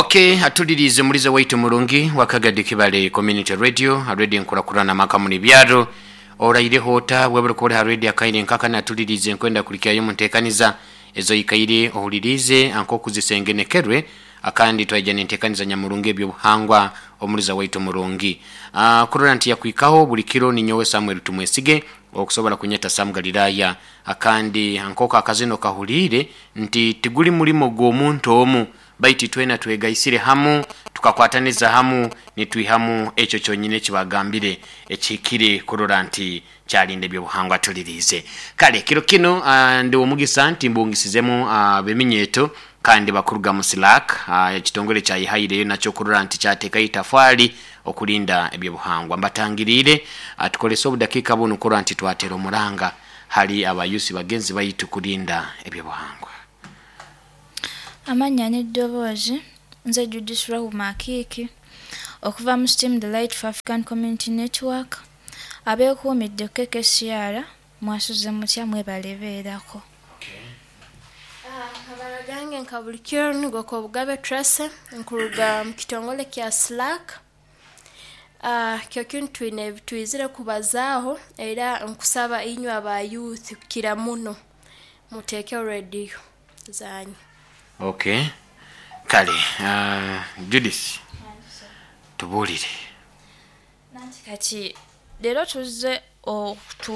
Okay, atulirize mulize waitu murungi wakagadi Kibale Community Radio, radio nkurakurana maka muni byaro. Oraireho ota webure kore ha radio akaire nkaka natulirize nkwenda kulikyayo muntekaniza ezo ikaire ohulirize anko kuzisengenekerwe akandi twaija nentekaniza nyamurungi ebyobuhangwa omuliza waitu murungi. Kurora nti yakwikaho buli kiro ni nyowe Samuel Tumwesige okusobola kunyeta Sam Galilaya akandi ankoka akazino kahulire nti tiguli mulimo gw'omuntu omu baitu twena twegaisire hamu tukakwataniza hamu nitwihamu ekyo kyonyine ekibagambire ekihikire kurora nti kyalinda ebyobuhangwa tulirize. Kale kiro kino ndi omugisa nti mbungisizemu beminyeto kandi bakuruga mu Silak, ekitongole kyayihaireyo nakyo kurora nti kyatekayo itafali okulinda ebyobuhangwa. Mbatangiriire, tukolese obudakiika bunu kurora nti twatera omuranga hali abayusi bagenzi baitu kulinda ebyobuhangwa. Amannya n'eddoboozi nze Judith Rahuma Akiiki okuva mu Steam the Light for African Community Network abeekuumidde ku KKCR mwasuze mutya mwebale beerako. Amabara gange nka buli kiro nigo Kobugabe Tracy nkuruga mu kitongole kya Slack. Kyo kinu twine ebitwizire kubazaaho era nkusaba inywe aba youth kukira muno muteekeho rediyo zanyu. Okay. Kale Judith tubuulire. Nanti kati leero tuzze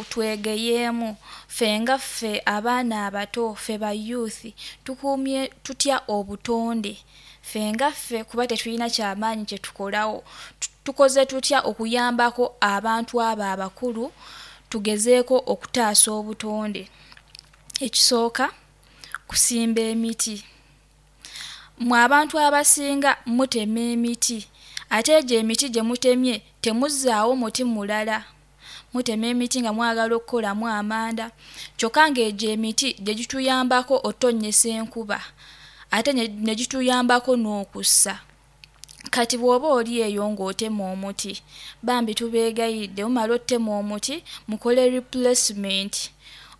twegeyeemu ffe nga ffe abaana abato ffe ba youth tukuumye tutya obutonde ffe nga ffe kuba tetulina kyamaanyi kye tukolawo tukoze tutya okuyambako abantu abo abakulu tugezeeko okutaasa obutonde. Ekisooka kusimba emiti. Mmwe abantu abasinga mutema emiti ate egyo emiti gye mutemye temuzzaawo muti mulala. Mutema emiti nga mwagala okukolamu amanda kyokka ng'egyo emiti gye gituyambako otonnyesa enkuba ate ne gituyambako n'okussa. Kati bw'oba oli eyo ng'otema omuti bambi tubeegayiridde mumala ottema omuti mukole replacement.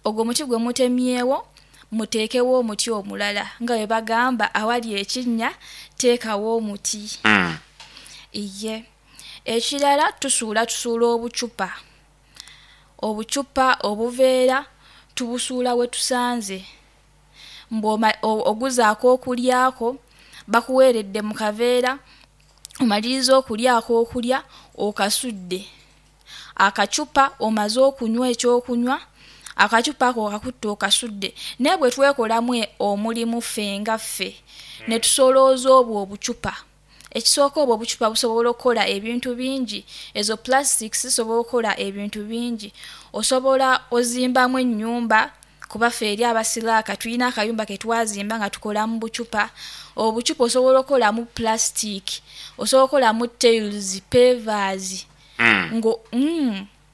Ogwo omuti gwe mutemyewo muteekewo omuti omulala nga bwe bagamba awali ekinnya teekawo omuti. Iye. Ekirala tusuula tusuula obucupa. Obucupa, obuveera tubusuula we tusanze. Mbu oguze ak'okulyako bakuweeredde mu kaveera omaliriza okulya ak'okulya okasudde. Akacupa omaze okunywa ekyokunywa akacupa ako okakutte okasudde. Naye bwe twekolamu omulimu ffe nga ffe ne tusolooza obwo obucupa. Ekisooka obwo obucupa busobola okukola ebintu bingi. Ezo plastics zisobola okukola ebintu bingi. Osobola ozimbamu ennyumba kuba ffe eri abasilaaka tulina akayumba ke twazimba nga tukola mu bucupa. Obucupa osobola okukolamu plastic, osobola okukolamu tiles, pavers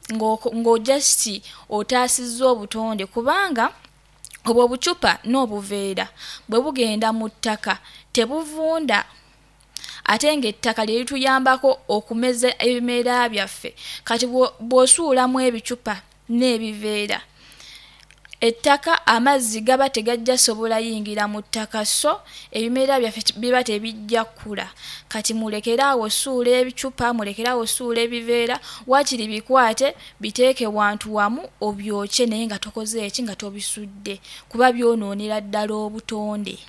ngo just otaasizza obutonde kubanga obwo obucupa n'obuveera bwe bugenda mu ttaka tebuvunda ate ng'ettaka lye lituyambako okumeza ebimera byaffe. Kati bw'osuulamu ebicupa n'ebiveera ettaka amazzi gaba tegajja sobola yingira mu ttaka so ebimera byaffe biba tebijja kkula. Kati mulekere awo ossuula ebicupa, mulekere awo ossuula ebiveera waakiri bikwate biteeke wantu wamu obyokye naye nga tokoze ki nga tobisudde kuba byonoonera ddala obutonde.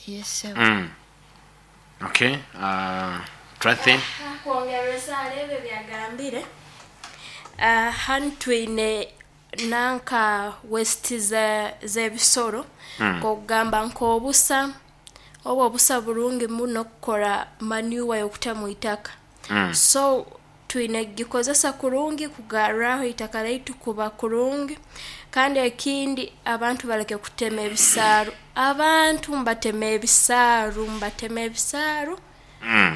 Yes, sir. Okay. Tracy. Kwongereza ebyo byagambire hanu twine nanka waste z'ebisoro nk'okugamba nk'obusa obu obusa burungi muno kukora manure y'okuta mu itaka. So twine kugikozesa kurungi kugarraho itaka lyaitu kuba kurungi kandi ekindi abantu baleke kutema ebisaaru. Abantu mbatema ebisaaru, mbatema ebisaaru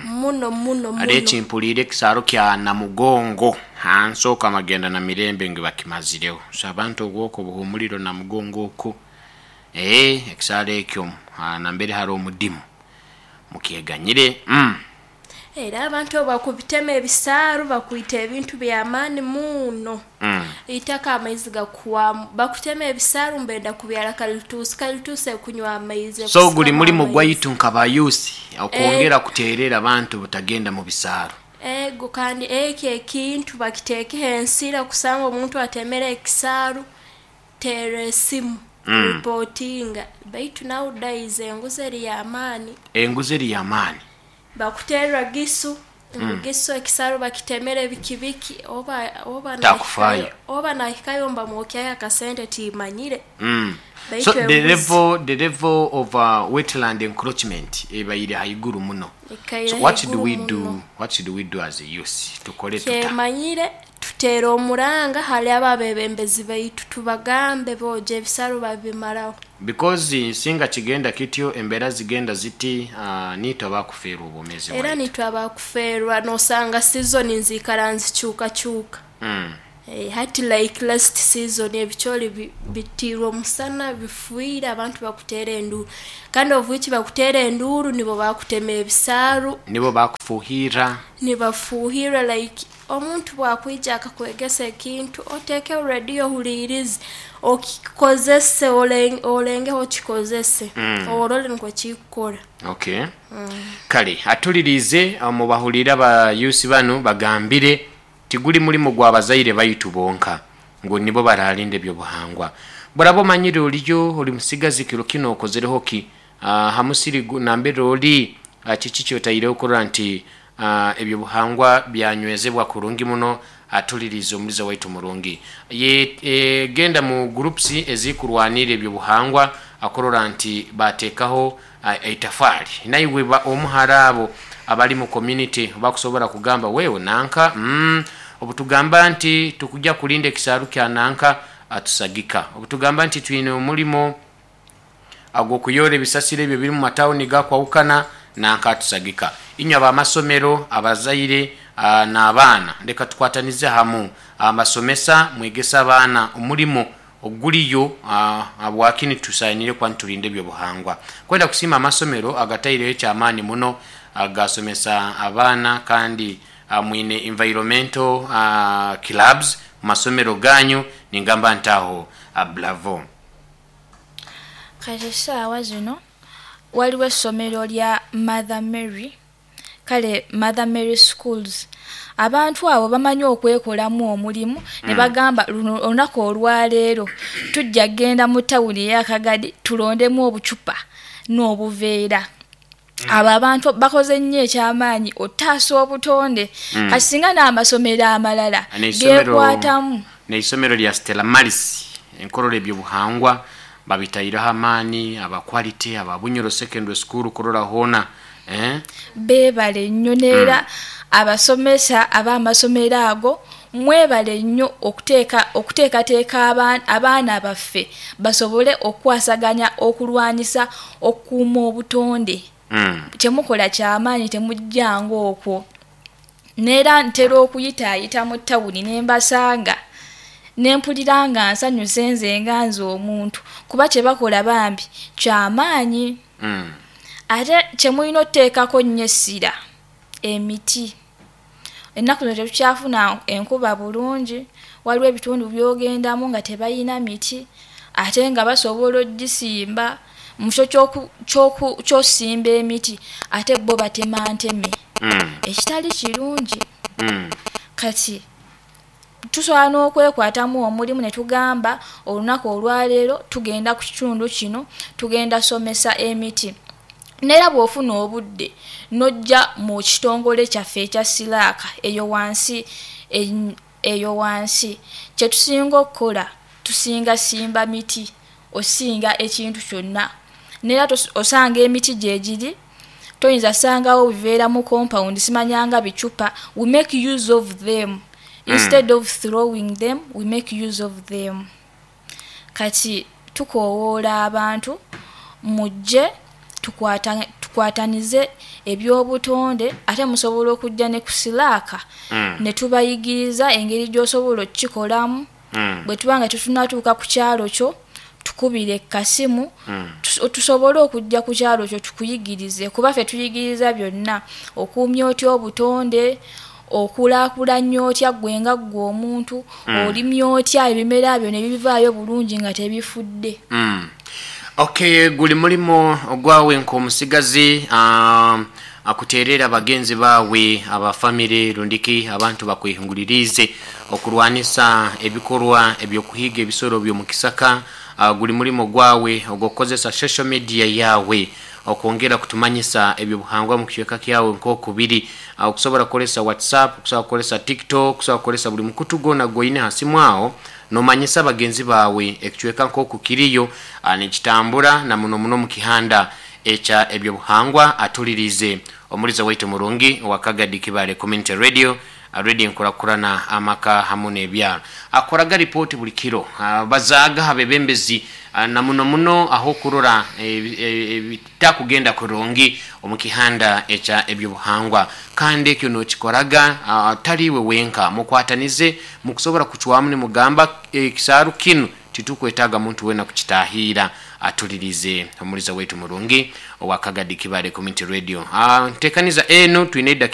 muno muno Hali muno. ekimpuliire ekisaaru kya Namugongo hansi okwo amagenda na mirembe ngu bakimazireho. So abantu obwoko buhumuliro Namugongo okwo ekisaaru ekyo nambere hali omudimu mukyeganyire. Era abantu obu bakubitema ebisaaru bakwita ebintu by'amaani muno. Itaka amaizi gakuhwamu, bakutema ebisaaru mbenda kubyara kalituusi, kalituusi ekunywa amaizi, So guli ekusikamu mulimu amaizi. Gwaitu nk'abayusi okwongera kuteerera abantu butagenda mu bisaaro. Ego, kandi eki ekintu bakiteekeho ensira kusanga omuntu atemere ekisaaru, teera esimu, ripotinga. Baitu nowadays enguzi eri y'amaani. Enguzi eri y'amaani. Bakuterra gisu ngu gisu ekisaaru bakitemere biki biki, oba Takufaayo. Oba nahikayo mbamwokyayo akasente timanyire. Baitu So the enguzi level of wetland encroachment ebaire haiguru muno. Ekaire So what should haiguru we muno. do? What should we do as a youth? Tukole tuta? Kyemanyire tuteera omuranga hali abo abebembezi baitu, tubagambe boja ebisaaru babimaraho. Because singa kigenda kityo, embeera zigenda ziti, niitwe abakufeerwa obwomeezi Era bwaitu. nitwe abakufeerwa, nosanga season nziikara nzikyukakyuka. Hati like last season ebicooli bitiirwe omusana bifiire, abantu bakuteera enduuru, kandi obuiki bakuteera enduuru nibo bakutema ebisaaru. Nibo bakufuuhirra. Nibafuuhirra. Like omuntu bwakwija akakwegesa ekintu, oteekeho rediyo ohuliirize, okikozese, olengeho okikozese, orole nikwo kikukora. Okay, kale atulirize mubahulire abayusi banu bagambire tiguli mulimu gwa bazaire baitu bonka ngu nibo baralinda ebyobuhangwa. Buraba omanyire oliyo oli musigazi kiro kino okozereho ki hamusiri nambere oli, kiki kyotaireho kurora nti ebyobuhangwa byanywezebwa kurungi muno? Atulirize omuliza waitu murungi ye, genda mu groups ezikurwanira ebyobuhangwa akurora nti bateekaho itafaali naiwe omuhara abo abali mu community bakusobola kugamba wewe nanka, obutugamba nti tukujja kulinda ekisaaru kya nanka atusagika, obutugamba nti twine omulimo ag'okuyora ebisasiro ebyo biri mu matawuni gakwawukana nanka atusagika. Inywe abamasomero, abazaire n'abaana, leka tukwatanize hamu. Amasomesa mwegesa abaana omulimo oguliyo habwaki tusaanire kuba niturinda ebyobuhangwa. Kwenda kusiima amasomero agataireho ekyamaani muno agasomesa abaana, kandi mwine environmental clubs mu masomero ganyu, ningamba ntaho bravo. Kati essaawa zino waliwo essomero lya Mother Mary, kale Mother Mary Schools. Abantu abo bamanyi okwekolamu omulimu ne bagamba luno olunaku olwaleero tujja kgenda mu tawuni ey'Akagadi tulondemu obucupa n'obuveera. Abo abantu bakoze nnyo ekyamaanyi ottaasa obutonde. Kati singa n'amasomero amalala geekwatamu. N'eisomero lya Stella Maris enkorora ebyobuhangwa babitaireho amaani, aba Quality, aba Bunyoro Secondary School kurora hoona, eh? Beebale nnyo neera abasomesa ab'amasomero ago, mwebale nnyo okuteekateeka abaana baffe basobole okukwasaganya okulwanyisa okukuuma obutonde. Kyemukola kyamaanyi, temujjanga okwo. Neera ntera okuyitaayita mu tawuni ne mbasanga ne mpulira nga nsanyuse nze nga nze omuntu, kuba kye bakola bambi kyamaanyi. Ate kye mulina otuteekako nnyo essira, emiti. Ennaku zino tetukyafuna enkuba bulungi, waliwo ebitundu by'ogendamu nga tebayina miti ate nga basobola ogisimba. Mu kifo ky'osimba emiti ate bo batema nteme, ekitali kirungi. Kati tusobola n'okwekwatamu omulimu ne tugamba olunaku olwaleero tugenda ku kitundu kino, tugenda somesa emiti. Neera bw'ofuna obudde n'ojja mu kitongole kyaffe ekya Siraaka eyo wansi, eyo wansi kye tusinga okukola, tusinga simba miti osinga ekintu kyonna. Neera osanga emiti gye giri, toyinza sangawo biveera mu compound simanyanga bicupa. We make use of them instead of throwing them, we make use of them. Kati tukoowoola abantu mujje tukwatanize ebyobutonde, ate musobola okujja ne ku Siraaka ne tubayigiriza engeri gy'osobola okukikolamu. Bwe tuba nga tetunnatuuka ku kyalo kyo, Tukubire kasimu tusobole okujja ku kyalo kyo tukuyigirize, kuba ffe tuyigiriza byonna: okuumya otya obutonde, okulaakulanya otya ggwe nga ggwe omuntu, olimya otya ebimera byo ne bivaayo bulungi nga tebifudde. Okay, guli mulimo ogwawe nk'omusigazi akuteerera bagenzi baawe, abafamire rundiki abantu bakwehinguliriize okurwanisa ebikorwa eby'okuhiiga ebisoro by'omu kisaka. Guli mulimo gwawe ogw'okukozesa social media yawe okwongera kutumanyisa ebyobuhangwa mu kicweka kyawe nk'oku biri. Okusobora kukozesa WhatsApp, okusobora kukozesa TikTok, okusobora kukozesa buli mukutu gwona gwoine ha simu aho, nomanyisa bagenzi baawe ekicweka nk'oku kiriyo nikitambura, na muno muno omu kihanda ekya ebyobuhangwa. Atuliriize omuliza waitu murungi owa Kagadi Kibale Community Radio, radio enkurakurana amaka hamu n'ebyaro. Akoraga ripooti buli kiro, bazaaga abebembezi na muno muno aho kurora ebitakugenda kurungi omu kihanda ekya ebyobuhangwa. Kandi ekyo nokikoraga tali iwe wenka, mukwatanize mukusobora kucwamu nimugamba ekisaaru kinu titukwetaaga muntu weena kukitahiira. Atulirize omuliza waitu murungi owa Kagadi Kibale Community Radio. Ntekaniza enu twine edakika.